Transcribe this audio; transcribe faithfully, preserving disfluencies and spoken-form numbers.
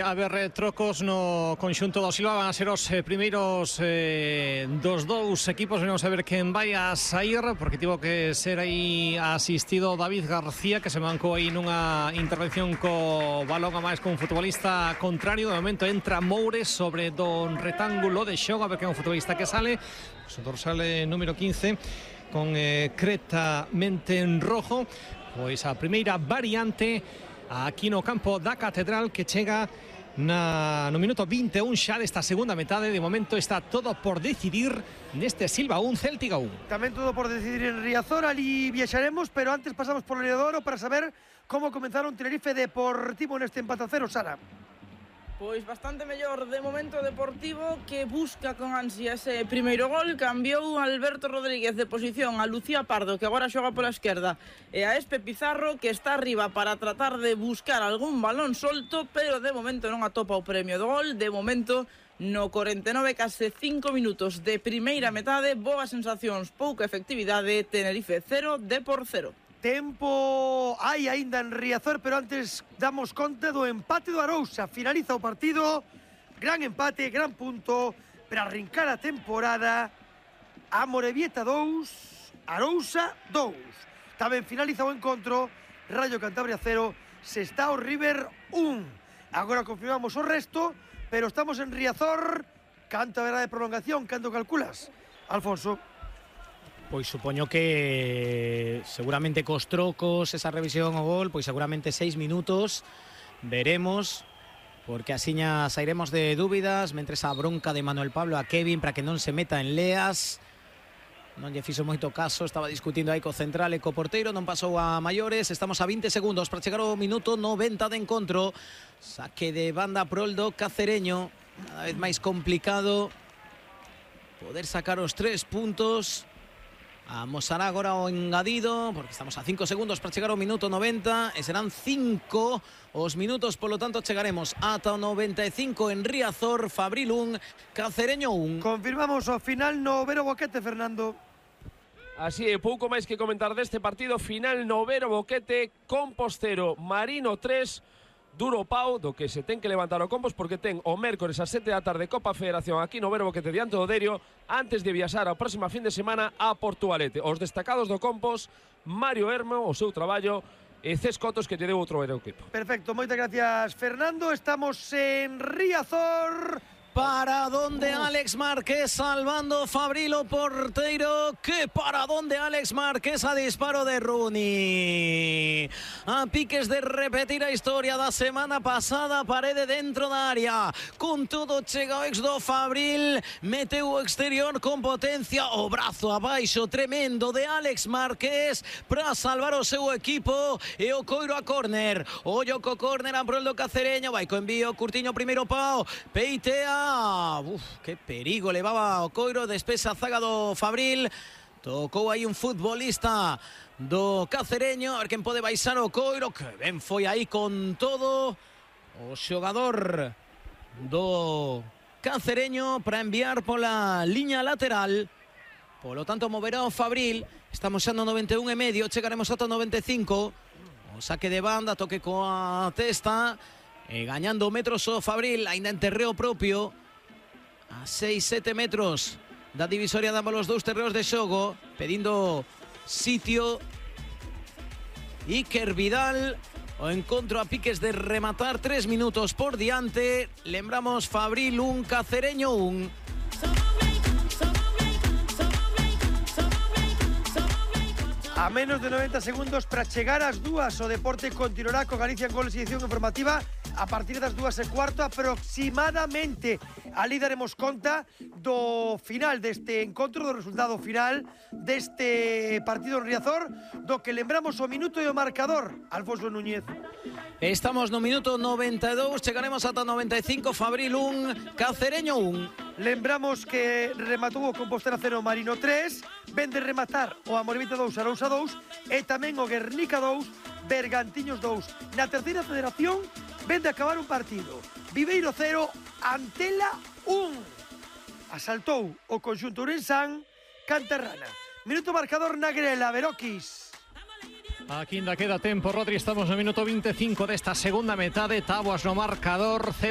A ver, trocos no conxunto do Silva van a ser os eh, primeiros eh, dos dous equipos. Vamos a ver quen vai a sair, porque tivo que ser aí asistido David García, que se mancou aí nunha intervención co balón a máis con un futbolista contrario. De momento entra Moure sobre don retángulo de xogo, a ver quen é un futbolista que sale. O dorsal número quince con eh, creta mente en rojo. Pois a primeira variante aquí no campo da Catedral, que chega Na, no minuto vinte e un xa desta segunda metade. De momento está todo por decidir neste Silva un, Céltica un. Tamén todo por decidir en Riazor. Ali viaxaremos, pero antes pasamos por Leodoro para saber como comenzaron Tenerife Deportivo neste empate a cero, Sara. Pois bastante mellor de momento Deportivo, que busca con ansia ese primeiro gol. Cambiou Alberto Rodríguez de posición a Lucía Pardo, que agora xoga pola esquerda, e a Espe Pizarro, que está arriba para tratar de buscar algún balón solto, pero de momento non atopa o premio do gol. De momento, no corenta e nove, case cinco minutos de primeira metade, boas sensacións, pouca efectividade. Tenerife cero, Depor cero. Tempo hai aínda en Riazor, pero antes damos conta do empate do Arousa. Finaliza o partido, gran empate, gran punto para arrincar a temporada. Amorebieta dous, Arousa dous. Tamén finaliza o encontro, Rayo Cantabria cero, Sestao River un. Agora confirmamos o resto, pero estamos en Riazor. Canto haberá de prolongación, canto calculas, Alfonso? Pois supoño que seguramente cos trocos, esa revisión ao gol, pois seguramente seis minutos, veremos, porque asiña sairemos de dúbidas, mentres a bronca de Manuel Pablo a Kevin para que non se meta en leas. Non lle fixo moito caso, estaba discutindo aí co central e co porteiro, non pasou a maiores. Estamos a vinte segundos para chegar ao minuto noventa de encontro. Saque de banda proldo cacereño, cada vez máis complicado poder sacar os tres puntos. Amosará agora o engadido, porque estamos a cinco segundos para chegar ao minuto noventa, e serán cinco os minutos, polo tanto chegaremos ata o noventa e cinco en Riazor. Fabril un, Cacereño un. Confirmamos o final no Vero Boquete, Fernando. Así é, pouco máis que comentar deste partido. Final no Vero Boquete, Compostero Marino tres, duro pau do que se ten que levantar o Compos, porque ten o mércores a sete da tarde Copa Federación aquí no Vero Boquete diante do Derio, antes de viaxar a próxima fin de semana a Portugalete. Os destacados do Compos, Mario Hermo, o seu traballo, e Cés Cotos, que lle deu outro equipo. Perfecto, moitas gracias, Fernando. Estamos en Riazor. Para donde Alex Márquez salvando Fabrilo porteiro. Que para donde Alex Márquez a disparo de Rooney. A piques de repetir a historia da semana pasada, parede dentro da área. Con todo chega o ex do Fabril, meteu o exterior con potencia, o brazo abaixo tremendo de Alex Márquez para salvar o seu equipo, e o coiro a córner. Ollo co córner a prol do Cacereño, vai co envío Curtiño, primeiro pau, peitea. Uf, que perigo levaba o coiro, despesa a zaga do Fabril. Tocou aí un futbolista do Cacereño, a ver quen pode baixar o coiro, que ben foi aí con todo o xogador do Cacereño para enviar pola liña lateral. Polo tanto moverá o Fabril. Estamos xa no noventa e un e medio, chegaremos ata o noventa e cinco. O saque de banda, toque coa testa, e gañando metros o Fabril, aínda en terreo propio, a seis sete metros da divisoria de ambos os dous terreos de xogo, pedindo sitio Iker Vidal. O encontro a piques de rematar, tres minutos por diante. Lembramos, Fabril un, Cacereño un. A menos de noventa segundos para chegar ás dúas, o deporte continuará con Galicia en Goles e edición informativa a partir das dúas e cuarto aproximadamente. Ali daremos conta do final deste encontro, do resultado final deste partido en Riazor, do que lembramos o minuto e o marcador, Alfonso Núñez. Estamos no minuto noventa e dous, chegaremos ata noventa e cinco. Fabril un, Cacereño un. Lembramos que rematou o Compostela cero, Marino tres, ven de rematar o Amorebieta dous, Arousa dous, e tamén o Guernica dous, Bergantiños dous. Na terceira federación ven de acabar un partido, Viveiro cero, Antela un. Asaltou o conxunto Ourensán, Cantarrana. Minuto marcador na grela, Veroquis. Aquí ainda queda tempo, Rodri, estamos no minuto veinticinco desta segunda metade, táboas no marcador, Celta